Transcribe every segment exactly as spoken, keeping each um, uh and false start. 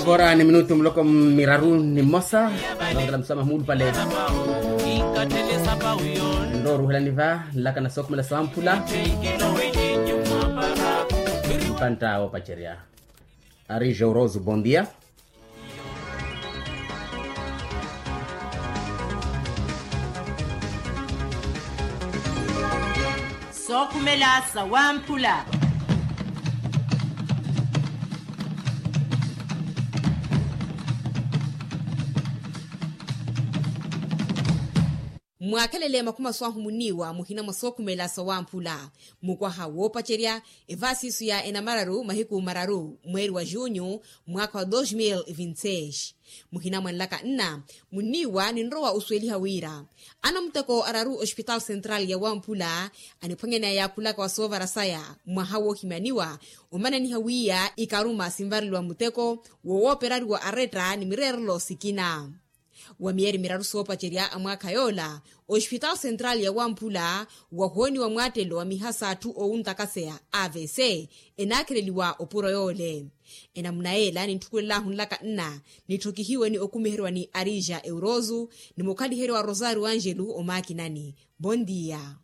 Kora ni minutu muloko miraru ni mmosa. Nongela musamaha muulupale. Nroruhelani va nlaka na sookhumela sawamphula. Mpanta woopacerya. Ari jouroso, bom dia. Sookhumela sawamphula. Mwaakhelele makhuma swahu muniiwa muhina mwa sookhumela sawamphula. Mukwaha woopacerya evaasiisu ya enamararu mahiku mararu mweeri wa junyu, mwaakha wa dos mil e vinte seis. Muhina mwa nlaka nna muniiwa ninrowa osuweliha wira anamuteko araru ospitaal central ya wamphula aniphwanyaneya yaakhulaka wa soovara saya mwaha woohimyaniwa omananiha wiiya ikaruma sinvareliwa muteko wowooperariwa aretta ni mireerelo sikina. Wa miyeeri miraru soopacerya a mwaakha yoola ospitaal central ya wamphula wahooniwa mwaattelo wa mihasa atthu owuntakaseya avc enaakheleliwa opuro yoole. Enamuna yeela nintthukululahu nlaka nna nitthokihiwe ni okumiheriwa ni arija euroso ni mukhaliheryo wa rosario angelu omaakinani. Bondia.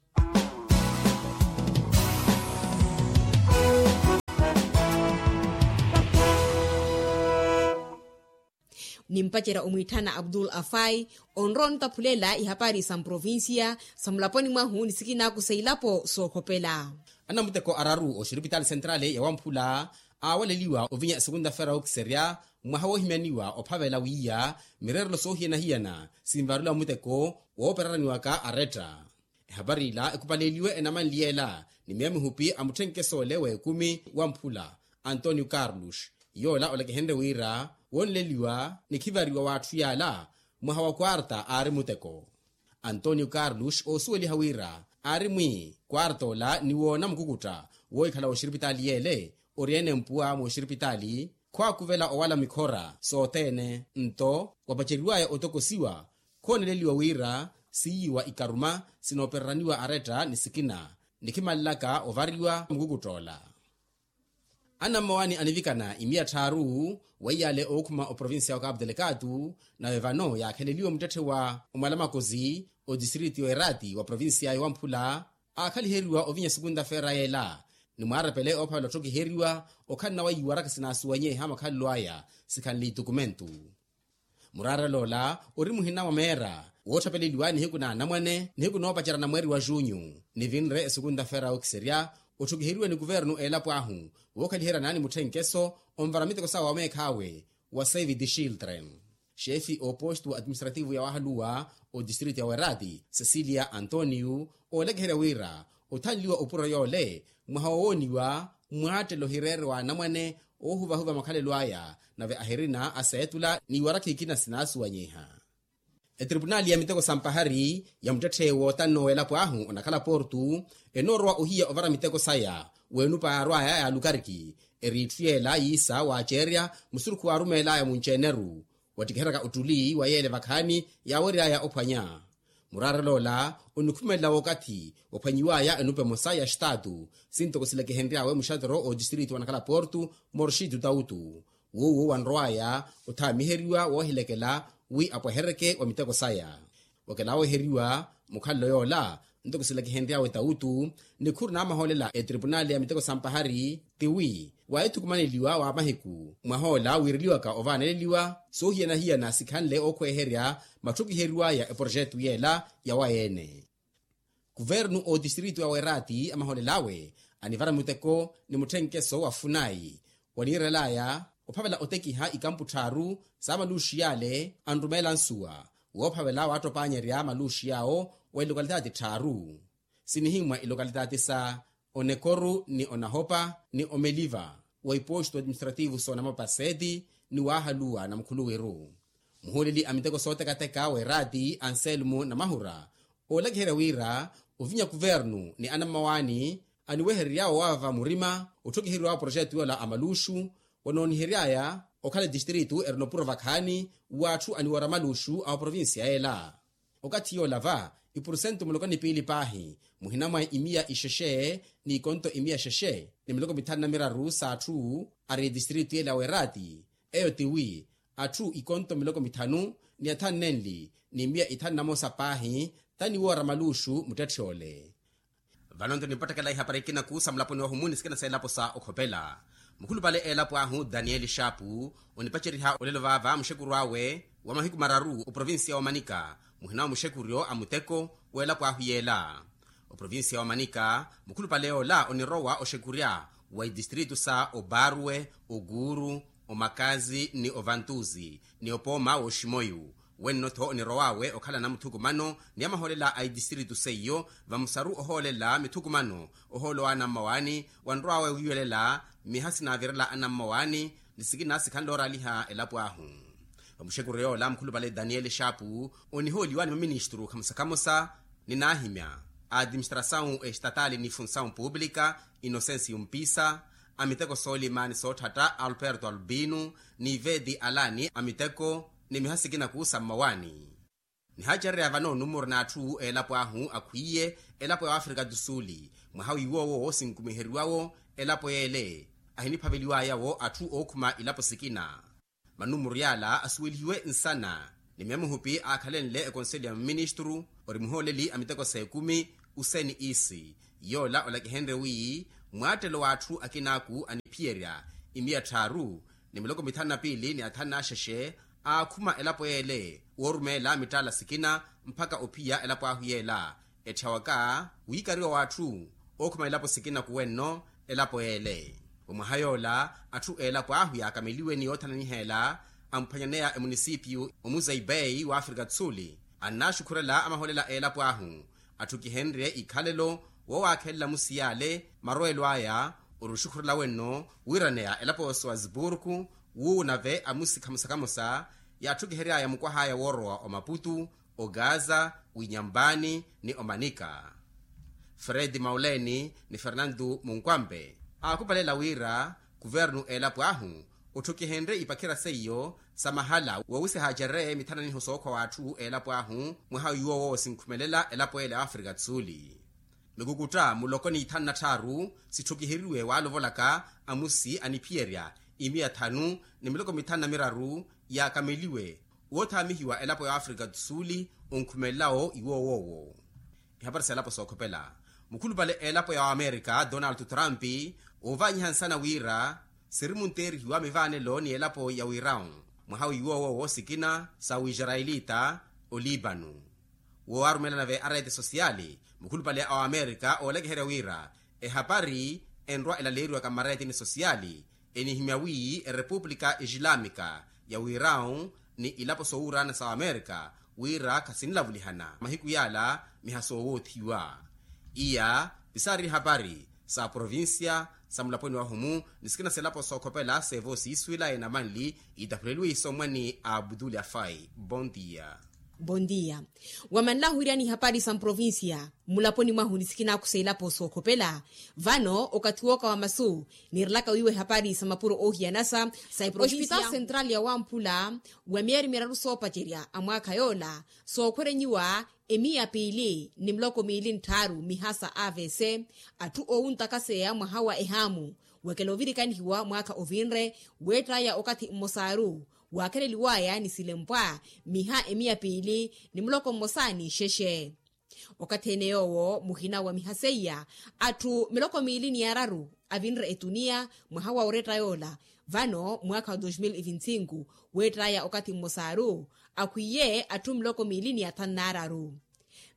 Nimpacerya omwiitthana abdul afai onrowa onitaphulela ihapari sa mprovincia sa mulaponi mwahu ni sikinaku sa ilapo sookhopela. Anamuteko araru oxiripitaali sentrali ya wamphula aawaleliwa ovinya esukunta fera okiserya mwaha woohimyaniwa ophavela wiiya mireerelo soohiyana-hiyana sinvarula muteko woopereraniwaka aretta. Ehapari ila ekupaleliwe enamanli yeela ni miya mihupi a mutthenkeso ole w'ekumi wamphula antonio carlos yoola olekehenrye wira woonleliwa ni khivariwa w'atthu yaala mwaha wa kwarta aari muteko. Antonio carlos oosuweliha wira aari mwi kwarta ola ni woona mukukutta woohikhala w'oxiripitaali yeele ori-ene mpuwa mw'oxiripitaali khwaakuvela owala mikhora sothene nto wapaceriwaya otokosiwa khooneleliwa wira siiyiwa ikaruma sinoopereraniwa aretta ni sikina nikhimalelaka ovariwa mukukuttoola. Anammawaani anivikana imiya tthaaru weiyale ookhuma oprovincia wa capu delegatu nawe vano yaakheleliwe muttetthe wa omwalamakosi otistriti y'oerati wa provincia y'owamphula aakhaliheriwa ovinya sukunta fera yeela ni mwaarepele oophavela otthokiheriwa okhalana wa iwarakha sinaasuwanyeha makhalelo aya sikhanle itukumentu. Muraareloola ori muhina mwa meera woottapeleliwa nihiku na anamwane nihiku noopacerana mweeri wa junyu nivinre esukunta fera okiserya otthokiheriwe ni kuvernu eelapo ahu wookhaliheryana ni mutthenkeso onvara miteko sawe wa meekhaawe wa save the children. Xefi oopostu administrativu ya wahaluwa otistriti ya werati cecilia antonio oolekeherya wira othanliwa opuro yoole mwaha wowooniwa mwaattelo hireere wa anamwane oohuvahuva makhalelo aya nave ahirina aseetula ni iwarakha ikina sinaasuwanyiha. Etripunali ya miteko sampahari ya muttetthe wootanno w'elapo ahu onakhala portu enoorowa ohiya ovara miteko saya w'enupa yaarwaya ya lukariki eri itthu yeela yiisa waaceerya musurukhu waarumeelaya munci-eneru wattikiheryaka ottuli wa yeele vakhaani yaaweryaya ophwanya. Muraareloola onikhumelela wookathi waphwanyiwaya enupa emosa ya xitaatu sintoko silekehenry'awe muxatero otistriti wa nakhala portu morxitu tautu woowo wanrow'aya othaamiheriwa woohilekela wi apweheryeke wa miteko saya. Okelaaweheriwa mukhalelo yoola ntoko silekehenry'awe tautu nikhuru naamahoolela etripunali ya miteko sampahari tiwi waahithukumaneliwa wa mahiku mwahoola wiireliwaka ovaaneleliwa soohiyana-hiyana sikhanle ookhweeherya matthokiheriw'aya eproxetu yeela yawaye-ene. Kuvernu otistrito ya werati amahoolel'awe anivara muteko ni mutthenkeso wa funayi waniirel'aya ophavela otekiha ikampu tthaaru sa maluuxi yale anrumeela nsuwa woophavela waattopanyerya maluuxi yaawo wa ilokalitati tthaaru sinihimmwa ilokalitati sa onekoru ni onahopa ni omeliva wa ipostu administrativu s'onamapaseti ni waahaluwa na mukhuluwiru. Muhuuleli a miteko sootekateka w'eraati anselmo namahura oolekeherya wira ovinya kuvernu ni anammawaani aniweherery'awe owaava murima otthokiheriw'awe proxetu yoola a maluuxu wanoonihery'aya okhala etistrito erina opuro vakhaani w'atthu aniwoora maluuxu a oprovincia yeela. Okathi yoola va ipursentu muloko ni piili paahi muhina mwa imiya ixexe n'ikonto imiya xexe ni miloko mithanu na miraru s'atthu ari etistrito yeela w'eraati Eyo tiwi atthu ikonto miloko mithanu ni athanu nenli ni miya ithanu namosa paahi, taniwoora maluuxu muttetthyoole. Vano nto nipottekela ihapari ikinaku sa mulaponi wahumu ni sikina seelapo sa okhopela. Mukhulupale eelapo ahu daniel shapu onipaceriha olelo vaava muxekuru awe wa mahiku mararu oprovincia wa manika, muhina wa muxekuryo a muteko weelapo ahu yeela. Oprovincia wa manika mukhulupale yoola onirowa oxekurya wa itistritu sa obarwe, oguuru, omakazi ni ovantuzi ni opooma w'oximoyu. Wenno-tho onirow'awe okhala namuthukumano ni amahoolela a itistritu seiyo vamusaru ohoolela mithukumano ohoolowa anammawaani. Wanrow'awe wiiwelela miha sinaavirela anammawaani ni sikina sikhanle ooraaliha elapo ahu. Vamuxekuru yoola mukhulupale daniel shapu onihooliwa ni maministru khamosa khamosa ni naahimya a administrasawu estatali ni funsawu publika, inosensiyo mpisa, a miteko soolima ni sootthatta alperto albino ni vedi alani a miteko ni miha sikinaku sa mmawaani. Nihaacerereya vano numuru n'atthu eelapo ahu akhwiiye elapo ya afrika tu suuli mwaha wiiwoowo sinkumiheriwawo elapo yeele ahiniphaveliw'ayawo atthu ookhuma ilapo sikina. Manumuru yaala asuwelihiwe nsana ni myamuhupi aakhalenle ekonseli ya maministru ori muhooleli a miteko s'ekumi useni isi yoola olakihenrye wi mwaattelo w'atthu akinaaku aniphiyerya imiya tthaaru ni miloko mithanu na piili ni athanu n'axexe aakhuma elapo yeele woorumeela mittaala sikina mpakha ophiya elapo ahu yeela etthawaka wiikariwa w'atthu ookhuma elapo sikina kuwenno elapo yeele. Omwaha yoola atthu eelapo ahu yaakameliwe ni yoothananiheela amuphanyaneya emunisipiyu omuzeibei w'afrika tu suuli annaaxukhurela amahoolela eelapo ahu atthu kihenrye ikhalelo woowaakhelela musiyale marowelo aya ori oxukhurela wenno wiiraneya elapo ya oswasburku wuuwo nave amusi khamosa khamosa yaatthukihery'aya mukwah'aya woorowa omaputu, ogaza, winyambani ni omanika. Fredi mauleni ni fernandu munkwampe aakupalela wira kuvernu eelapo ahu otthukihenrye ipakhira seiyo sa mahala woowisihaacereye mithananiho sookhwa w'atthu eelapo ahu mwaha iwoowo sinkhumelela elapo ele a afrika tu suuli. Mikukutta muloko ni ithanu na tthaaru sitthukiheriwe waalovolaka amusi aniphiyerya imiya thanu ni miloko mithanu na miraru yaakameliwe woothaamihiwa elapo ya afrika tu suuli onkhumelelawo iwoowoowo. Ihapari s'elapo sookhopela mukhulupale eelapo ya amerika donald trump oovaanyiha nsana wira sirimunteerihiwa mivaanelo ni elapo ya wirawu mwaha wiiwoowo sikina sa wisarayilita olibanu. Woowarumeela nave areete sosiyali mukhulupale a amerika oolakiherya wira ehapari enrwa elaleeriwaka mmareetini sosiyali enihimya wi erepupulika ixilamika ya wirawu ni ilapo soowuurana sa amerika wira khasinilavulihana mahiku yaala miha soowoothiwa. Iya pisaari hapari sa provincia sa mulaponi wahumu ni sikina selapo sookhopela seevo siiswila enamanli itaphuleliwe isomwa ni abuduli afai bondia. Bondia. Wamanlahu iryani hapari sa mprovincia mulaponi mwahu ni sikinaku selapo sookhopela vano okathi wooka wa masu nirelaka wiiwa ehapari sa mapuro oohiyanasa sa eprovincia hospital central ya wamphula wa miyeri miraru soopacerya a mwaakha yoola sookhwerenyiwa emiya piili ni miloko miili ntthaaru miha sa avc atthu oowuntakaseya mwaha wa ehaamu wekela ovirikanihiwa mwaakha ovinre weettaya okathi mmosaaru waakheleliwaya ni silempwa miha emiya piili ni muloko mmosa ni xexe. Okathi ene yoowo muhina wa miha seiya atthu miloko miili ni araru avinre etuniya mwaha wa oretta yoola vano mwaakha wa dos mil e vinte e cinco weettaya okathi mmosaaru akhwiiye atthu miloko miili ni athanu n'araru.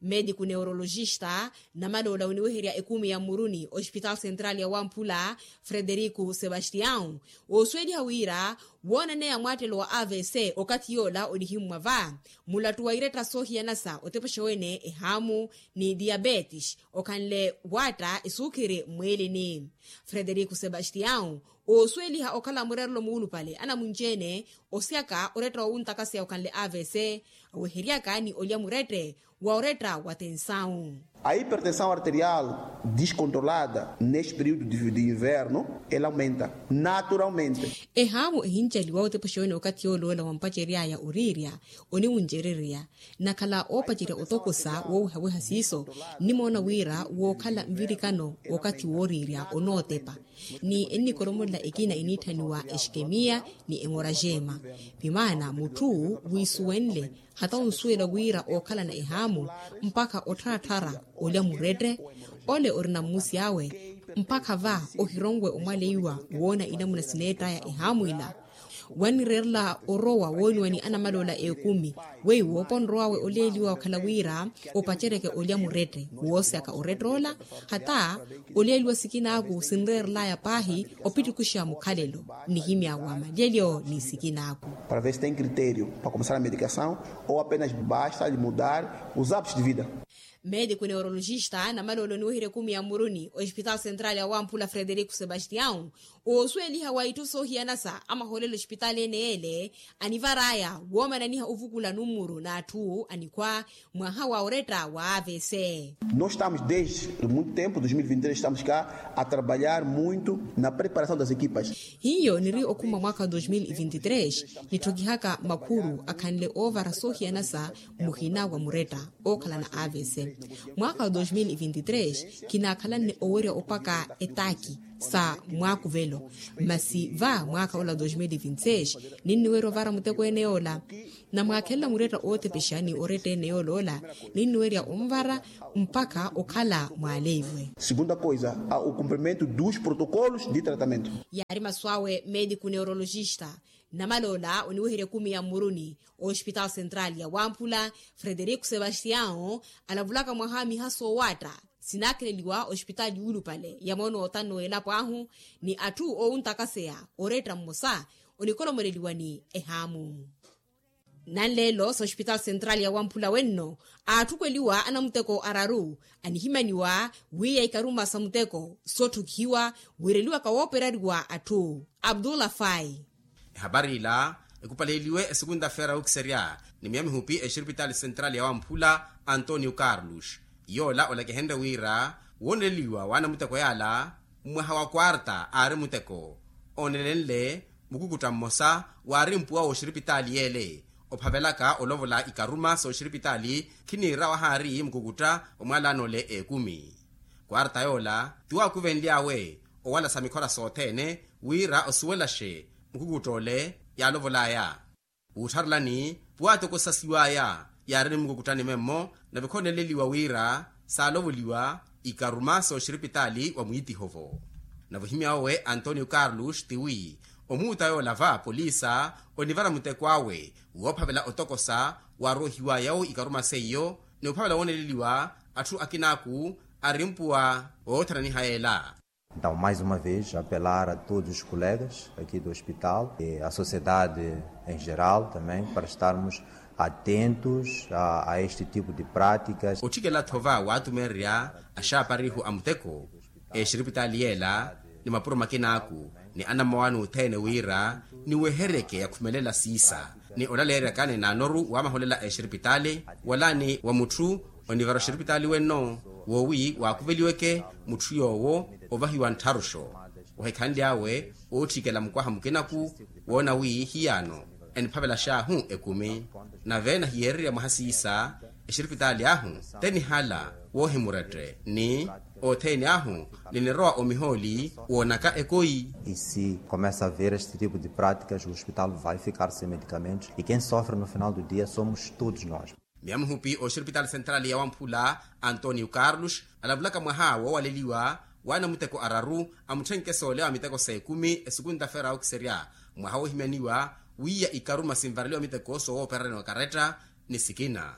Mediku neurologista namaloola oniweherya ekumi ya mmuruni ospitaal central ya wamphula frederiku sebastião oosuweliha wira woonaneya mwaattelo wa avc okathi yoola onihimmwa va mulattu wa iretta soohiyanasa otepexa wene ehaamu ni diabetes okhanle waatta esuukhiri mmwiilini. Frederiku sebastião oosuweliha okhala murerelo muulupale anamunci-ene osyaka oretta woowuntakaseya okhanle avc aweheryaka ni olya murette wa oretta wa tensawu. A hipertensawu arterial diskontrolada neste período de inverno ela aumenta naturalmente. Ehaamu ehincaliwa otepa oxeene okathi yooloola wampaceryaya oriirya oniwuncererya. Nakhala oopacerya otokosa woowihawiha siiso nnimoona wira wookhala nvirikano w'okathi wooriirya onootepa. Ni ennikoromolela ekina eniitthaniwa exikemiya ni emorajema. Vimaana mutthu wiisuwenle hata onsuwela wira ookhalana ehaamu mpakha ottharattharya olya murette. Ole orina mmusi awe mpakha va ohironwe omwaleiwa woona inamuna sineettaya ehaamu ila. Wannireerela orowa wooniwa ni anamaloola ekumi weiwo ponrowawe oleeliwa okhala wira opaceryeke olya murette woosyaka orette ola hata oleeliwa sikinaaku sinreerelaya paahi opittukuxa mukhalelo. Nihimya wa malyelyo ni sikinaaku para ver se tem critério para começar a medicação ou apenas basta lhe mudar os hábitos de vida. Médico neurologista namaloolo oniweherya ekumi ya mmuruni oespitaali central ya wamphula frederico sebastião oosuweliha wa itthu soohiyanasa amahoolelo ospitaali ene ele anivaraya woomananiha ovukula nummuru n'atthu anikhwa mwaha wa oretta wa avc. Nós estamos desde muito tempo dois mil e vinte e três estamos cá a trabalhar muito na preparação das equipas. Hiyo niri okhuma mwaakha wa dois mil e vinte e três nitthokihaka makhuru akhanle oovara soohiyanasa muhina wa muretta ookhalana avc. Mwaakha wa dois mil e vinte e três kinaakhalanne owerya opaka etaaki sa mwaakuvelo. Masi va mwaakha ola wa dois mil e vinte e seis ninniwerya ovara muteko ene yoola. Namwaakhelela muretta ootepexa ni oretta ene yooloola ninniwerya onvara mpakha okhala mwaaleiwe. Segunda coisa, o cumprimento dos protocolos de tratamento. Yaari masu awe médico neurologista namaloola oniweherya ekumi ya mmuruni oespitaali central ya wamphula frederico sebastião alavulaka mwaha miha soowaatta sinaakheleliwa ospitaali yuulupale ya moona otanno w'elapo ahu ni atthu oowuntakaseya oretta mmosa onikolomoleliwa ni ehaamu. Nanleelo sa ospitaali central ya wamphula wenno aathukweliwa anamuteko araru anihimaniwa wiiya ikaruma sa muteko sootthukihiwa wiireliwaka wooperariwa atthu. Abdullah fai. Ehapari ila ekupaleeliwe esukunta feera wukiserya ni miya mihupi exiripitaali central ya wamphula antonio carlos yoola olakihenrye wira wooneleliwa w'anamuteko yaala mwaha wa kwarta aari muteko oonelenle mukukutta mmosa waari mpuwa w'oxiripitaali yeele ophavelaka olovola ikaruma sooxiripitaali khiniira wahaari mukukutta omwalaan'ole ekumi. Kwarta yoola ti waakuvenly'awe owala sa mikhora sothene wira osuwelaxe mukukutta ole yaalovol'aya. Wuuttharelani puwaatokosasiw'aya yaari ni mukukuttani memmo nave khooneleliwa wira saalovoliwa ikaruma sooxiripitaali wa mwiitiho-vo. Nave ohimy'awe antonio carlos tiwi omuuta yoola va polisa onivara muteko awe woophavela otokosa waarohiw'aya-wo ikaruma seiyo ni ophavela wooneleliwa atthu akinaaku ari mpuwa oothananiha yeela. Então mais uma vez apelar a todos os colegas aqui do hospital e a sociedade em geral também para estarmos atentos a este tipo de práticas. Otthikela-tho va waatumeererya axaaparihu a muteko exiripitaali yeela ni mapuro makinaaku ni anammawaani othene wira niweheryeke yakhumelela siisa ni olaleeryaka ni naanoru waamaholela exiripitaali wala ni wa mutthu onivara oxiripitaali wenno woowi waakuveliweke mutthu yoowo ovahiwa nttharuxo. Ohikhanly'awe ootthikela mukwaha mukinaku woona wi hiyaano eniphavelax'ahu ekumi nave nahiyeererya mwaha siisa exiripitaali ahu te nihala woohimurette ni othene ahu ninirowa omihooli woonaka ekoyi. E se começa a ver este tipo de práticas o hospital vai ficar sem medicamentos e quem sofre no final do dia somos todos nós. Miya muhupi oxiripitaali central ya wamphula antonio carlos alavulaka mwaha woowaleliwa w'anamuteko araru amutthenke soolewa miteko s'ekumi esukunta feera wukiserya mwaha woohimyaniwa wiiya ikaruma sinvareliwa miteko soowoopererya ni okaretta ni sikina.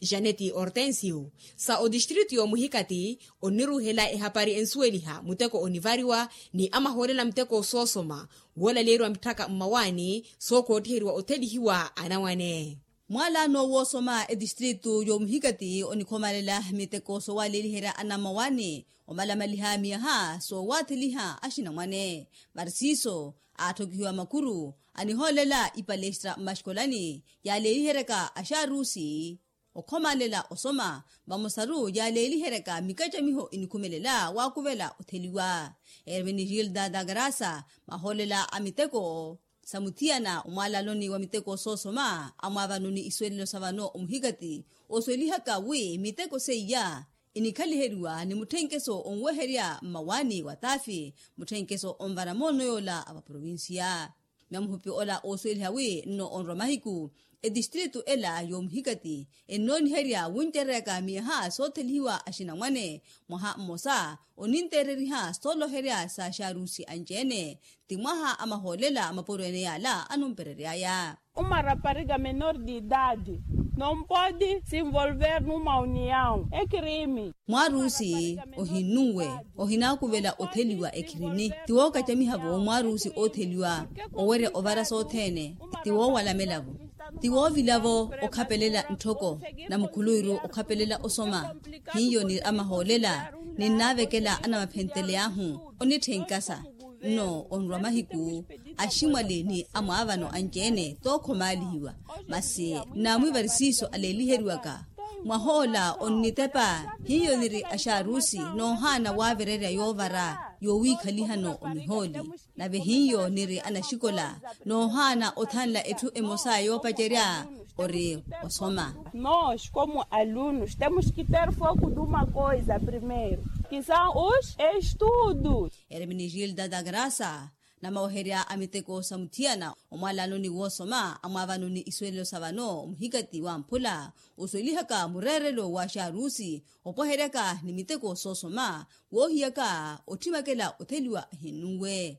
Janeti hortensio sa otistritu y'omuhikati onniruuhela ehapari ensuweliha muteko onivariwa ni amahoolela muteko soosoma woolaleeriwa mitthaka mmawaani sookoottiheriwa othelihiwa anamwane. Mwalaano woosoma etistritu y'omuhikati onikhomalela miteko soowaleliherya anammawaani omalamaliha miyaha soowaatheliha axinamwane. Marsiso aatthokihiwa makuru anihoolela ipalestra mmaxikolani yaaleeliheryaka axaarusi. Okhomalela osoma vamosaru yaaleeliheryaka mikacamiho inikhumelela waakuvela otheliwa. Ermenigilda da grasa, mahoolela a miteko sa muthiyana omwaalanoni wa miteko soosoma amwaavano ni isuwelelo sa vano omuhikati, osuwelihaka wi miteko seiya inikhaliheriwa ni mutthenkeso onweherya mmawaani wa taafi, mutthenkeso onvara moono yoola a vaprovinsiya. Myamuhupi ola oosuweliha wi nno onrwa mahiku etistritu ela yoomuhikati ennooniherya wuncereryaka miyaha soothelihiwa axinamwane. Mwaha mmosa oninteereriha sooloherya sa xaarusi anci-ene. Ti mwaha a mahoolela mapuro-ene yaala anumpereryaya. Uma rapariga menor de idade não pode se envolver numa união, é crime. Mwaarusi ohinnunwe, ohinaakuvela otheliwa ekhirini. Ti wookacamiha-vo mwaarusi ootheliwa owerya ovara sothene. Ti woowalamela-vo, ti woovila-vo okhapelela ntthoko na mukhuluwiru okhapelela osoma. Hiyo niri a mahoolela ninnaavekela anamaphenteley'ahu onitthenka sa nno onrwa mahiku aximwali ni amwaavano anci-ene tookhomaalihiwa. Masi nnaamwivari siiso aleeliheriwaka mwahoola onnitepa. Hiyo niri axaarusi noohaana waavirerya yoovara yoowiikhalihano omihooli. Nave hiyo niri anaxikola noohaana othanla etthu emosa yoopacerya ori osoma. Nos como alunos temos que ter foco de uma coisa primeiro, que são os estudos. Ermenigilda da grasa, namaweherya a miteko sa muthiyana omwaalanoni woosoma amwaavano ni isuwelelo sa vano muhikati wamphula osuwelihaka mureerelo wa xaarusi opweheryaka ni miteko soosoma woohiyaka otthimakela otheliwa ahinnunwe.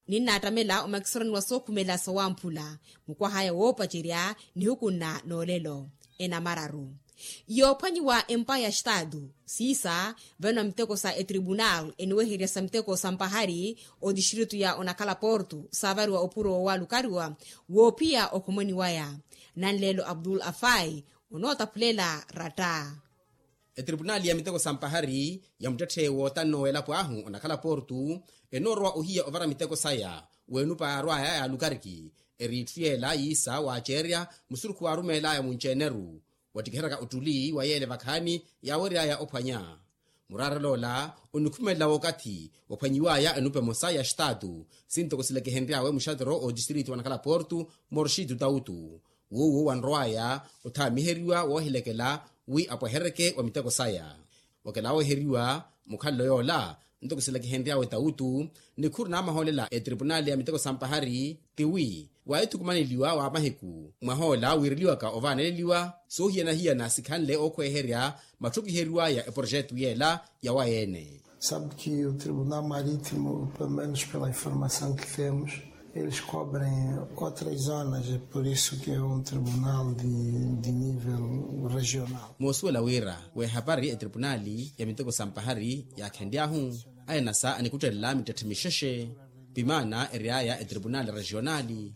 Ninnaattamela omakisorani wa sookhumela sawamphula mukwahaya woopacerya nihukunna noolelo enamararu yoophwanyiwa empa ya xtaatu. Siisa vano miteko sa etribunal eniweherya sa miteko sa mpahari otistritu ya onakhala porto saavariwa opuro waalukariwa woophiya okhomoni waya nanleelo abdul afai onootaphulela ratta. Etripunali ya miteko sa mpahari ya muttetthe wootanno w'elapo ahu onakhala portu enoorowa ohiya ovara miteko saya w'enupa yaarwaya yaalukariki eri itthu yeela yiisa waaceerya musurukhu waarumeelaya munci-ene-ru wattikiheryaka ottuli wa yeele vakhaani yaaweryaya ophwanya. Muraarel'ola onikhumelela w'okathi ophwanyiwaya enupa emosa ya xitaatu sintoko silekehenry'awe muxatero ootistiritu wanakhala portu morxitu tautu w'uwo wanrow'aya othaamiheriwa woohilekela wi apweheryeke wa miteko saya. Okela wooheriwa mukhalelo yoola ntoko silakihenry'awe tawutu nikhuru naamahoolela etripunali ya miteko sa mpahari ti wi waahithukumaneliwa wa mahiku mwahoola wiireliwaka ovaaneleliwa soohiyana-hiyana sikhanle ookhweeherya matthukiheriw'aya eporoxetu yeela ya wayeene. Sabe que o tribunal marítimo pelo menos pela informação que temos eles cobrem outras zonas é por isso que é um tribunal de nível regional. Moosuwela wira w'ehapari etripunali ya miteko sa mpahari yaakhenly'ahu ainasa anikuttelela mittetthe mixexe pimaana ery'aya etripunali regionali.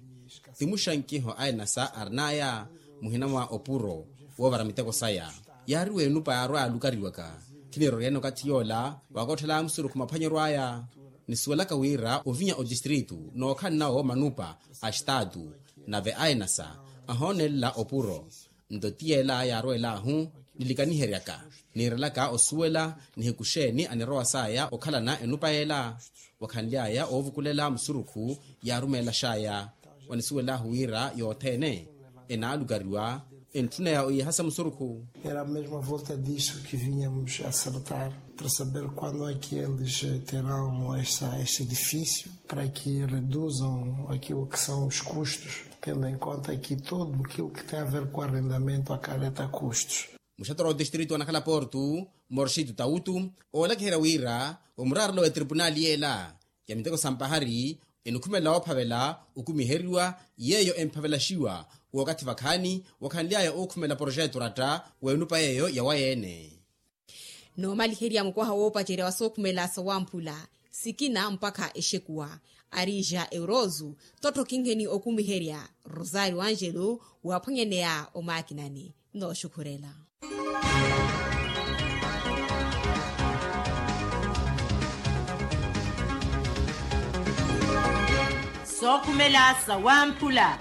Ti muxankiho ainasa arin'aya muhina mwa opuro woovara miteko saya yaari w'enupa yaarwa yaalukariwaka. Khiniroryene okathi yoola waakotthel'aya musurukhu maphwanyeryo aya nisuwelaka wira ovinya otistritu nookhanna-wo manupa a xitaatu nave ainasa ahoonelela opuro. Nto ti yeela yaarweel'ahu nilikaniheryaka niirelaka osuwela nihiku xeeni anirowa saya okhalana enupa yeela. Wakhanly'aya oovukulela musurukhu yaarumeelax'aya wanisuwel'ahu wira yothene enaalukariwa entthuna ya oyiihasa musurukhu. Era mesmo a volta disso que vinhamos a acertar para saber quando é que eles terão este edifício para que reduzam aquilo que são os custos tendo em conta que todo aquilo que tem a ver com arrendamento acarreta custos. Muxattoro wa otistritu anakhala portu morxitu tawutu oolakiherya wira omuraarelo w'etripunali yeela ya miteko sa mpahari enikhumelela woophavela okumiheriwa yeeyo emphavelaxiwa w'okathi vakhaani wakhanly'aya ookhumela poroxetu oratta w'enupa yeeyo ya wayeene. Noomaliherya mukwaha woopacerya wa sookhumela sawamphula sikina mpakha exekuwa arija eurozu tottho kinheni okumiherya rosario angelo waaphwanyaneya omaakinani. Nooxukhurela sookhumela sawamphula.